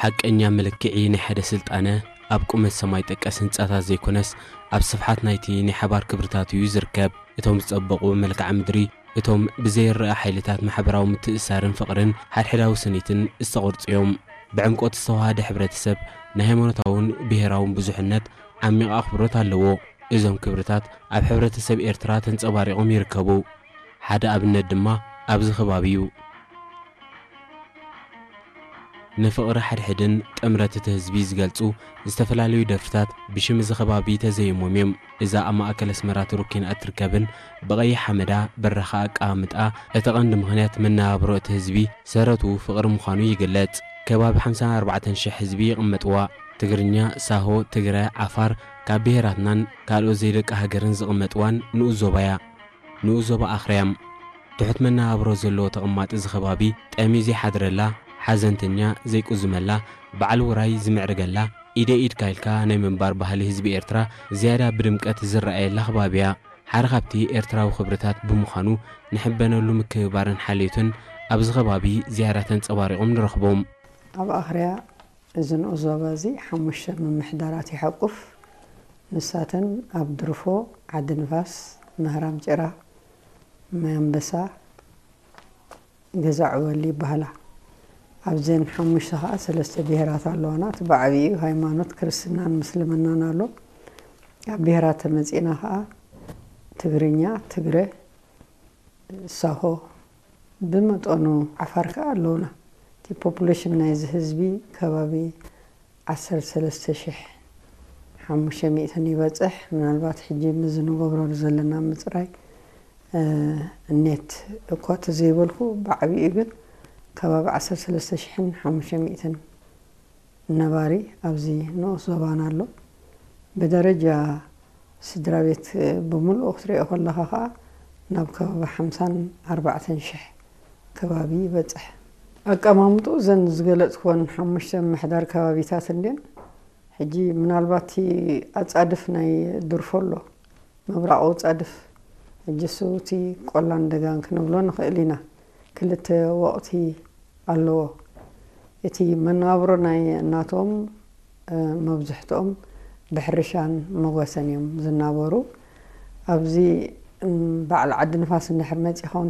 ሓቀኛ መለክዒ ናይ ሓደ ስልጣነ ኣብ ቁመት ሰማይ ጠቀስ ህንጻታት ዘይኮነስ፣ ኣብ ስፍሓት ናይቲ ናይ ሓባር ክብርታት እዩ ዝርከብ። እቶም ዝጸበቑ መልክዓ ምድሪ፣ እቶም ብዘይረኣ ሓይልታት ማሕበራዊ ምትእስሳርን ፍቕርን ሓድሕዳዊ ስኒትን ዝተቐርጹ እዮም። ብዕምቆት ዝተዋሃደ ሕብረተሰብ ናይ ሃይማኖታውን ብሄራውን ብዙሕነት ዓሚቕ ኣኽብሮት ኣለዎ። እዞም ክብርታት ኣብ ሕብረተሰብ ኤርትራ ተንጸባሪቖም ይርከቡ። ሓደ ኣብነት ድማ ኣብዚ ከባቢ እዩ። ንፍቕሪ ሓድሕድን ጥምረት እቲ ህዝቢ ዝገልጹ ዝተፈላለዩ ደርፍታት ብሽም እዚ ከባቢ ተዘይሞም እዮም። እዛ ኣብ ማእከል ኣስመራ ትሩኪን እትርከብን ብቐይሕ ሓመዳ በራኻ ኣቀማምጣ፣ እቲ ቀንዲ ምኽንያት መነባብሮ እቲ ህዝቢ ሰረቱ ፍቕሪ ምዃኑ ይግለጽ። ከባቢ ሓምሳን ኣርባዕተን ሽሕ ህዝቢ ይቕመጥዋ። ትግርኛ፣ ሳሆ፣ ትግረ፣ ዓፋር ካብ ብሄራትናን ካልኦት ዘይደቂ ሃገርን ዝቕመጥዋን ንኡስ ዞባያ። ንኡስ ዞባ ኣኽርያም። ትሑት መነባብሮ ዘለዎ ተቐማጢ እዚ ከባቢ ጠምዩ ዘይሓድረላ፣ ሓዘንተኛ ዘይቁዝመላ፣ በዓል ውራይ ዝምዕርገላ፣ ኢደ ኢድካ ኢልካ ናይ ምንባር ባህሊ ህዝቢ ኤርትራ ዝያዳ ብድምቀት ዝረኣየላ ከባቢ እያ። ሓደ ካብቲ ኤርትራዊ ክብርታት ብምዃኑ ንሕበነሉ ምክብባርን ሓልዮትን ኣብዚ ከባቢ ዝያዳ ተንጸባሪቖም ንረኽቦም። ኣብ ኣኽርያ እዚ ንኡስ ዞባ እዚ ሓሙሽተ ምምሕዳራት ይሓቁፍ። ንሳተን ኣብ ድርፎ፣ ዓዲ ንፋስ፣ ምህራም ጭራ፣ ማይ ኣንበሳ፣ ገዛ ዕወሊ ይበሃላ። ኣብዘን ሓሙሽተ ኸኣ ሰለስተ ብሄራት ኣለዋና። እቲ ብዓብይኡ ሃይማኖት ክርስትናን ምስልምናን ኣሎ። ኣብ ብሄራት ተመጺእና ኸኣ ትግርኛ፣ ትግረ፣ ሳሆ፣ ብመጠኑ ዓፋር ከኣ ኣለውና። እቲ ፖፑሌሽን ናይዚ ህዝቢ ከባቢ ዓሰርተ ሰለስተ ሽሕ ሓሙሽተ ሚእትን ይበጽሕ። ምናልባት ሕጂ ምዚ ንገብሮ ዘለና ምጽራይ፣ እ፣ ኔት እኳ ተዘይበልኩ፣ ብዓቢኡ ግን ከባቢ ዓሰርተ ሰለስተ ሽሕን ሓሙሽተ ሚእትን ነባሪ ኣብዚ ንኡስ ዞባና ኣሎ። ብደረጃ ስድራ ቤት ብምልኡ ክትሪኦ ከለኻ ኸኣ ናብ ከባቢ ሓምሳን ኣርባዕተን ሽሕ ከባቢ ይበጽሕ። ኣቀማምጥኡ እዘን ዝገለጽክወን ሓሙሽተ ምምሕዳር ከባቢታት እንድየን። ሕጂ ምናልባት እቲ ኣጻድፍ ናይ ድርፎ ኣሎ፣ ምብራቕ ኣጻድፍ፣ ሕጂ እሱ እቲ ቆላን ደጋን ክንብሎ ንኽእል ኢና። ክልተ ወቕቲ ኣለዎ። እቲ መነባብሮ ናይ እናቶም፣ እ፣ መብዝሕትኦም ብሕርሻን መጓሰን እዮም ዝናበሩ። ኣብዚ፣ እም፣ በዓል ዓዲ ንፋስ እንድሕር መጺኻ እውን